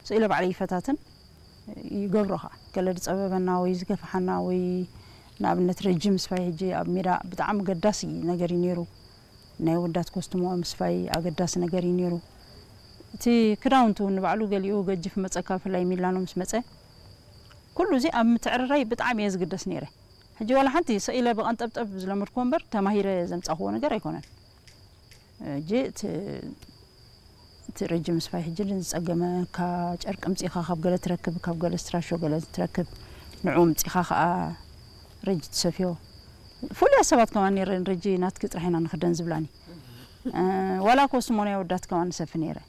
ስኢለ ባዕለይ ይፈታትን ይገብሮ ኸዓ። ገለ ዝጸበበና ወይ ዝገፍሓና ወይ ንኣብነት ረጂ ምስፋይ ሕጂ ኣብ ሜዳ ብጣዕሚ ገዳሲ ነገር እዩ ነይሩ። ናይ ወዳት ኮስትሞ ምስፋይ ኣገዳሲ ነገር እዩ ነይሩ። እቲ ክዳውንቱ ንባዕሉ ገሊኡ ገጅፍ መጸካ፣ ብፍላይ ሚላኖ ምስ መጸ፣ ኩሉ እዚ ኣብ ምትዕርራይ ብጣዕሚ እየ ዝግደስ ነይረ። ሕጂ ዋላ ሓንቲ ሰኢለ ብቐንጠብጠብ ዝለመድክዎ እምበር ተማሂረ ዘምጻኽዎ ነገር ኣይኮነን። ሕጂ እቲ እቲ ረጂ ምስፋይ ሕጂ ዝጸገመ ካብ ጨርቂ ምጺኻ ካብ ገለ ትረክብ፣ ካብ ገለ ስትራሾ ገለ ትረክብ፣ ንዑ ምጺኻ ከኣ ረጂ ትሰፍዮ። ፍሉያት ሰባት ከማን ነይረን፣ ረጂ ናትኪ ጥራሕ ኢና ንኽደን ዝብላኒ። እ፣ ዋላ ኮስትሞ ናይ ወዳት ከማን ንሰፊ ነይረ።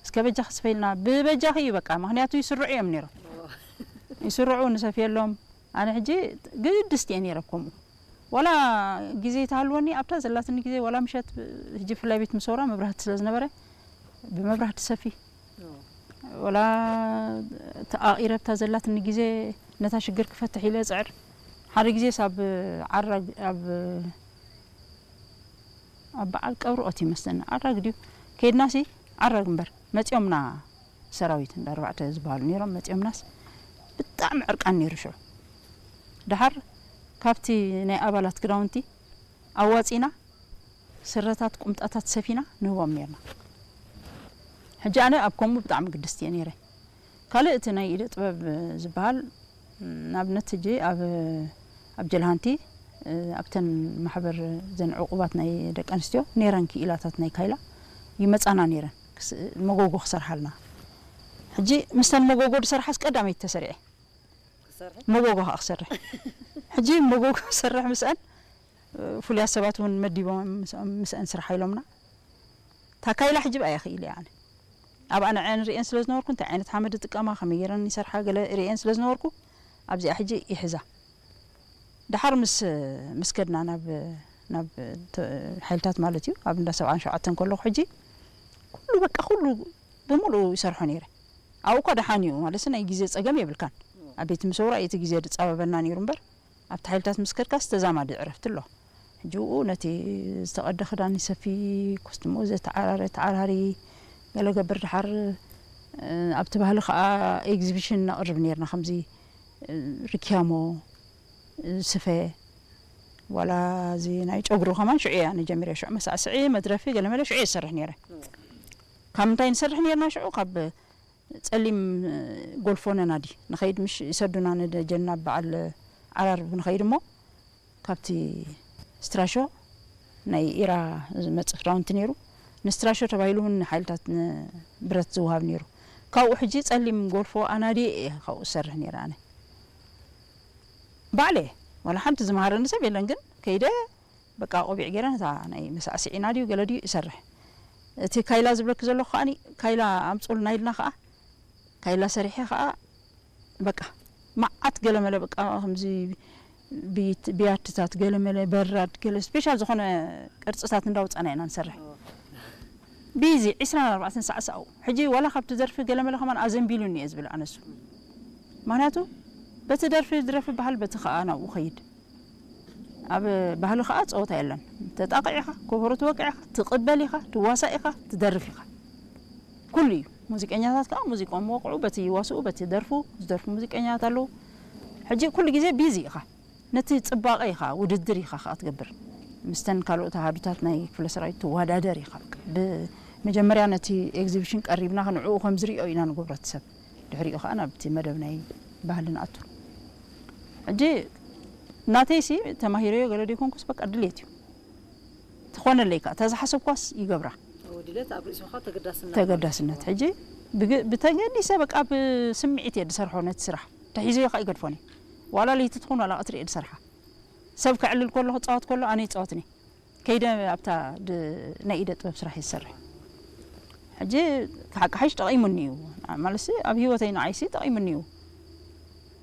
እስከ በጃኺ ስፈይልና፣ ብበጃኺ እዩ በቃ፣ ምኽንያቱ ይስርዑ እዮም ነይሮም። ይስርዑ፣ ንሰፍየሎም። ኣነ ሕጂ ግድስቲ እየ ነይረ ከምኡ። ዋላ ግዜ ተሃልወኒ ኣብታ ዘላትኒ ግዜ ዋላ ምሸት ብ-፣ ሕጂ ብፍላይ ቤት ምሰውራ መብራህቲ ስለ ዝነበረ ብመብራህቲ ሰፊ። ዋላ ተኣቒረ ኣብታ ዘላትኒ ግዜ ነታ ሽግር ክፈትሕ ኢለ እጽዕር። ሓደ ግዜ ሳብ ዓራግ ኣብ ኣብ በዓል ቀብሪ ኦት ይመስለኒ። ዓራግ ድዩ? ከይድናሲ ዓራግ እምበር መጺኦምና ሰራዊት እንዳ ኣርባዕተ ዝበሃሉ ነይሮም። መጺኦምናስ ብጣዕሚ ዕርቃን ነይሩ ሽዑ። ደሓር ካብቲ ናይ ኣባላት ክዳውንቲ ኣዋጺና ስረታት ቁምጣታት ሰፊና ንህቦም ነይርና። ሕጂ ኣነ ኣብ ከምኡ ብጣዕሚ ግድስቲ እየ ነይረ። ካልእ እቲ ናይ ኢደ ጥበብ ዝበሃል ንኣብነት ሕጂ ኣብ ኣብ ጀልሃንቲ ኣብተን ማሕበር ዘን ዕቁባት ናይ ደቂ ኣንስትዮ ነይረን ክኢላታት ናይ ካይላ ይመጻና ነይረን ክስ-፣ መጎጎ ክሰርሓልና። ሕጂ ምስተን መጎጎ ዝሰርሓስ ቀዳመይቲ ተሰሪዐ። መጎጎ ከዓ ክሰርሕ። ሕጂ መጎጎ ክሰርሕ ምስአን ፍሉያት ሰባት እውን መዲቦም ምስ-፣ ምስአን ስራሕ ኢሎምና። ታካይላ ሕጂ ብኣየ ክኢለ ኣነ። ኣብኣ ንዐን ርእየን ስለ ዝነበርኩ እንታይ ዓይነት ሓመድ ዝጥቀማ፣ ከመይ ገይረን ይሰርሓ ገለ ርእየን ስለ ዝነበርኩ ኣብዚኣ ሕጂ ይሕዛ። ደሓር ምስ፣ ምስ ከድና ናብ፣ ናብ ተ-፣ ሓይልታት ማለት እዩ፣ ኣብ እንዳ ሰብዓን ሸውዓተን ከለኹ ሕጂ ኩሉ በቃ ኩሉ ብምሉኡ ይሰርሖ ነይረ። ኣብኡ እኳ ደሓን እዩ ማለት ናይ ግዜ ጸገም የብልካን። ኣብ ቤት ምሰውራ እቲ ግዜ ዝጻበበና ነይሩ እምበር ኣብቲ ሓይልታት ምስ ከድካስ ተዛማዲ ዕረፍቲ ኣሎ። ሕጂ ብኡ ነቲ ዝተቐደ ክዳን ይሰፊ፣ ኮስትሞ ዘተዓራረ ተዓራሪ፣ ገለ ገብር ደሓር፣ እ፣ ኣብቲ ባህሊ ከኣ ኤግዚቢሽን ነቕርብ ነይርና፣ ከምዚ፣ እ፣ ርክያሞ፣ እ፣ ስፈ፣ ዋላ እዚ ናይ ጨጉሩ ከማን ሽዑ እየ ኣነ ጀሚረ። ሽዑ መሳዕስዒ፣ መድረፊ፣ ገለመለ ሽዑ እየ ዝሰርሕ ነይረ። ካብ ምንታይ ንሰርሕ ነይርና ሽዑ? ካብ ጸሊም ጎልፎ ነናዲ ንኸይድ ምሽ ይሰዱና ንደጀና በዓል ዓራርብ ንኸይድ እሞ ካብቲ ስትራሾ ናይ ኢራ ዝመጽእ ክዳውንቲ ነይሩ። ንስትራሾ ተባሂሉ እውን ንሓይልታት ንብረት ዝወሃብ ነይሩ። ካብኡ ሕጂ ጸሊም ጎልፎ ኣናዲ እየ ካብኡ ዝሰርሕ ነይረ ኣነ። ባዕለ ዋላ ሓንቲ ዝመሃረኒ ሰብ የለን፣ ግን ከይደ በቃ ቆቢዕ ገይረ ነታ ናይ መሳዕስዒና ድዩ ገለ ድዩ ይሰርሕ። እቲ ካይላ ዝብለኪ ዘለኹ ከኣኒ ካይላ ኣምጹልና ኢልና ከኣ ካይላ ሰሪሐ ከኣ በቃ መዓት ገለመለ በቃ ከምዚ ብይት-፣ ብያትታት ገለመለ በራድ ገለ ስፔሻል ዝኾነ ቅርጽታት እንዳውጻና ኢና ንሰርሕ። ቢዚ ዕስራን ኣርባዕተን ሰዓት ሰኣው። ሕጂ ዋላ ካብቲ ደርፊ ገለመለ ከማን ኣዘንቢሉኒ እየ ዝብል ኣነሱ። ምኽንያቱ በቲ ደርፊ ዝረፊ ባህል በቲ ከኣ ናብኡ ኸይድ። ኣብ ባህሊ ከኣ ጸወታ የለን። ተጣቕዕ ኢኻ፣ ኮበሮ ትወቅዕ ኢኻ፣ ትቕበል ኢኻ፣ ትዋሳእ ኢኻ፣ ትደርፍ ኢኻ። ኩሉ እዩ። ሙዚቀኛታት ከኣ ሙዚቆም ወቕዑ፣ በቲ ይዋስኡ፣ በቲ ደርፉ፣ ዝደርፉ ሙዚቀኛታት ኣለዉ። ሕጂ ኩሉ ግዜ ቢዚ ኢኻ። ነቲ ጽባቐ ኢኻ፣ ውድድር ኢኻ ከኣ ትገብር። ምስተን ካልኦት ኣሃዱታት ናይ ክፍለ ሰራዊት ትወዳደር ኢኻ። ብመጀመርያ ነቲ ኤግዚቢሽን ቀሪብና ንዕኡ ከም ዝርእዮ ኢና ንገብሮ እቲ ሰብ። ድሕሪኡ ከኣ ናብቲ መደብ ናይ ባህሊ ንኣቱ። ሕጂ ናተይሲ ተማሂረዮ ገለ ዘይኮንኩስ በቃ ድሌት እዩ። ትኾነለይ ከኣ፣ እታ ዝሓሰብኳስ ይገብራ። ድሌት ኣብ ርእስኻ ተገዳስነት ማለት ተገዳስነት። እዩ። ሕጂ ብግ-፣ ብተገዲሰ በቃ ብስምዒት እየ ዝሰርሖ ነቲ ስራሕ። ተሒዘዮ ከኣ ይገድፎን እየ። ዋላ ለይቲ ትኹን ዋላ ቀትሪ እየ ዝሰርሓ። ሰብ ከዕልል ከሎ፣ ክጻወት ከሎ ኣነ ይጻወትኒ። ከይደ ኣብታ ድ-፣ ናይ ኢደ ጥበብ ስራሕ እየ ዝሰርሕ። ሕጂ ክሓቂ ሓይሽ ጠቒሙኒ እዩ። ማለትሲ ኣብ ህይወተይ ንዓይሲ ጠቒሙኒ እዩ።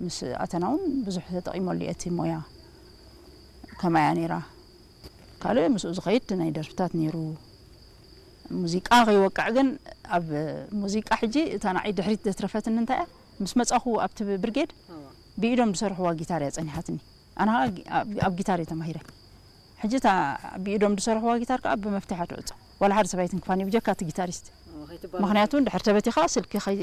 ምስ ኣተና እውን ብዙሕ ተጠቒመሉ እየ እቲ ሞያ። ከማያ ነይራ። ካልእ ምስኡ ዝኸይድ ናይ ደርፍታት ነይሩ። ሙዚቃ ከይወቅዕ ግን ኣብ ሙዚቃ ሕጂ እታ ንዓይ ድሕሪት ዘትረፈትኒ እንታይ እያ? ምስ መጻኹ ኣብቲ ብርጌድ እዋ። ብኢዶም ዝሰርሕዋ ጊታር እያ ጸኒሓትኒ። ኣነ ኸኣ ጊ-፣ ኣብ፣ ኣብ ጊታር እየ ተማሂረ። ሕጂ እታ ብኢዶም ዝሰርሕዋ ጊታር ከኣ ብመፍትሕ እያ ትዕጾ። ዋላ ሓደ ሰብ ኣይትንክፋን እዩ፣ ብጀካ እቲ ጊታሪስት። ኦ፣ ከይትባላሾ። ምኽንያቱ እንድሕር ተበቲኻ ስልኪ ከይ-፣